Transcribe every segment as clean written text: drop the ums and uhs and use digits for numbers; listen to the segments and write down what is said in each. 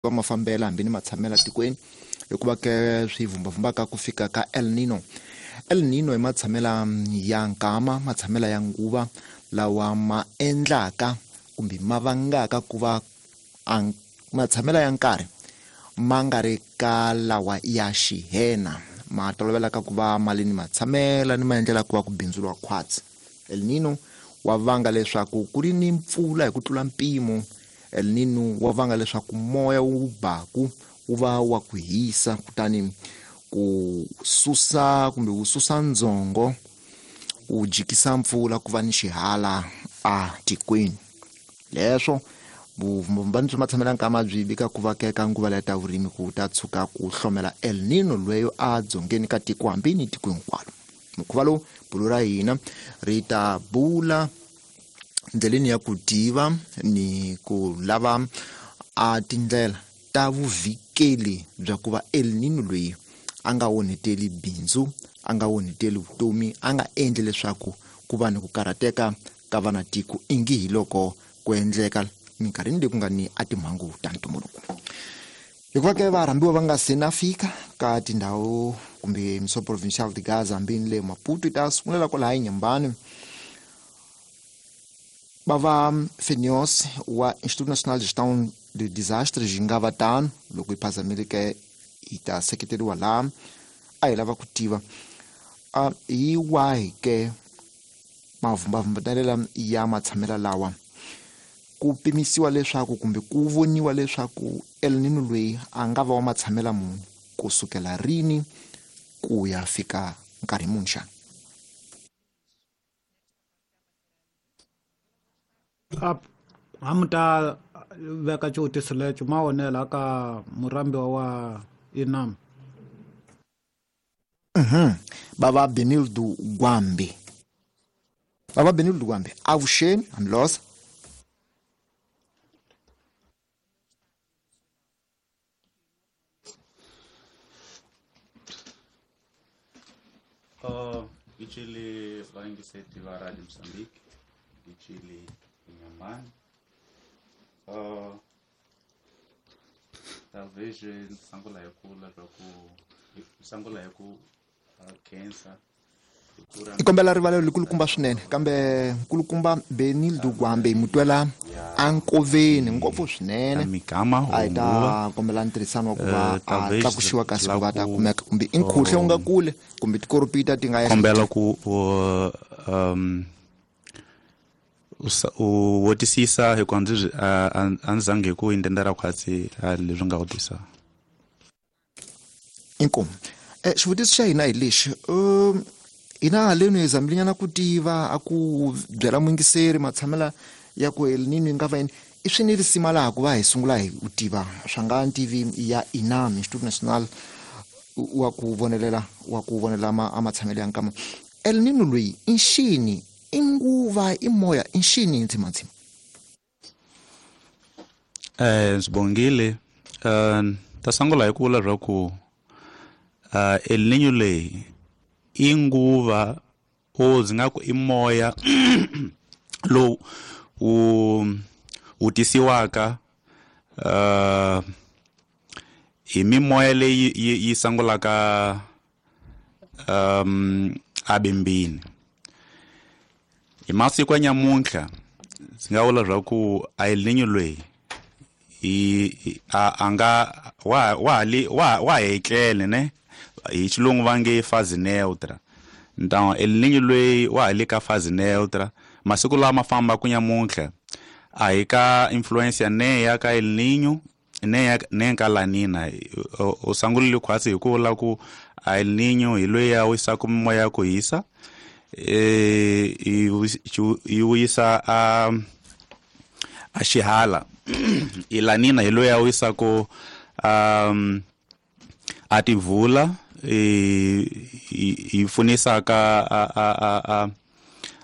Va mafambela hambi ni matshamela tikweni hikuva ke swi vhumbavhumbaka ku fika ka El Nino. El Nino i matshamela ya nkama, matshamela ya nguva lawa ma endlaka kumbe ma vangaka ku va matshamela ya nkarhi ma nga ri ka lawa ya xihena, ma tolovelaka ku va ma li ni matshamela ni maendlela ku va ku bindzuriwa khwatsi. El Nino wa vanga leswaku ku ri ni mpfula hi ku tlula mpimo. El Nino wa vanga leswaku moya wu baku wu va wa ku hisa, kutani ku susa kumbe wu susa ndzongo, wu jikisa mpfula ku va ni xihala a tikweni. Leswo vumbani bya matshamela nkama byi vika ku va keka nguva leya ta vurimi ku ta tshuka ku hlomela El Nino lweyo a dzongeni ka tiko hambi ni tiko hinkwalo. Mukhuva lowu bulo ra hina ri ta bula ndleleni ya ku tiva ni ku lava a tindlela ta vuvikeli bya ku va El Nino loyi a nga onheteli bindzu, a nga onheteli vutomi, a nga endli leswaku ku va ni ku karhateka ka vanatiko ingi hi loko ku endleka minkarhini leyi ku nga ni a timhangu ta ntumbuluko. Hikuva ke varhambiwa va nga se na fika ka tindhawu kumbe Municipal Provincial de Gaza hambi ni le Maputo, yi ta sungulela kwalaha eNyembani. Va va Fenios wa Instituto Nacional de Gestão de Desastres yi nga va tano, loko yi phazamile ke yi ta seketeriwa laha. A hi lava ku tiva a hi wahi ke mavumbavumbanelela ya matshamela lawa ku pimisiwa leswaku kumbe ku voniwa leswaku El Nino loyi a nga va wa matshamela muni kusukela rini ku ya fika nkarhi muni xana? A mi ta veka xivutiso lexo ma onela ka murhambiwa wa Inam. Baba Benildo Gwambi. Baba Benildo Gwambi, avuxeni, hambilosa. Ngitshele vayingiseti va Radio Mozambique, ngitshele Inhambane. Talvez sangula hi ku leswaku sangula hi ku khensa. I kombela rivalelo likulukumba swinene, kambe nkulukumba Benildo Gwambe hi mutwela ankoveni ngopfu swinene. Migama A hi ta kombela ntirhisano wa ku va a tlakuxiwa kasi ku va ta kumeka kumbe i nkhuhle wu nga kule kumbe tikoropita ti nga ya kombela ku u votisisa hikuva ndzi a ndzi zangi hi ku intendera khwatsi leswi nga vutisa. Inkomu. Xivutiso xa hina hi lexi, hina haleni hi zamile ku tiva a ku byela muyingiseri matshamela ya ku El Nino yi nga va yini. I swi ni risima laha ku va hi sungula hi u tiva swa nga ntivi ya INAM, Instituto Nacional wa ku vonelela, wa ku vonela a matshamelo ya nkama. El Nino loyi i nxini, i nguva, i moya, i nxini ndzimandzima? Ndzi bongile. Ta sungula hi ku vula swa ku El Nino leyi i nguva o ndzi nga ku i moya lowu wu tisiwaka hi mimoya leyi yi sungulaka abimbini. Hi masiku ya nyamuntlha ndzi nga vula swa ku El Nino loyi i a nga wa wa li wa wa hetlele ne hi xilungu va nge phase neutra. Então El Nino loyi wa ha le ka phase neutra masiku lama fambaka nyamuntlha a hi ka influence ya ne ya ka El Nino ne ya ne ka La Nina. U sungulile khwatsi hi ku vula ku El Nino hi loyi a wisaka mimoya ya ku hisa, yi wisa a xihala. I La Nina hi loyi a wisaka a tivula, yi pfunisaka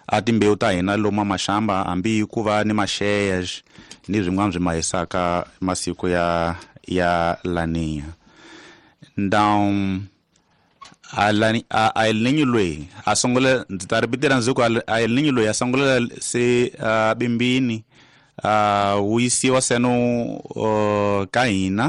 a timbewu ta hina lomu maxamba hambi ku va ni maxeya ni swin'wana swi ma hisaka masiku ya La Nina. Então a El Nino loyi a sungula, ndzi ta ripitela ndzi ku a El Nino loyi a sungula se bimbini, wu yisiwa seno ka hina.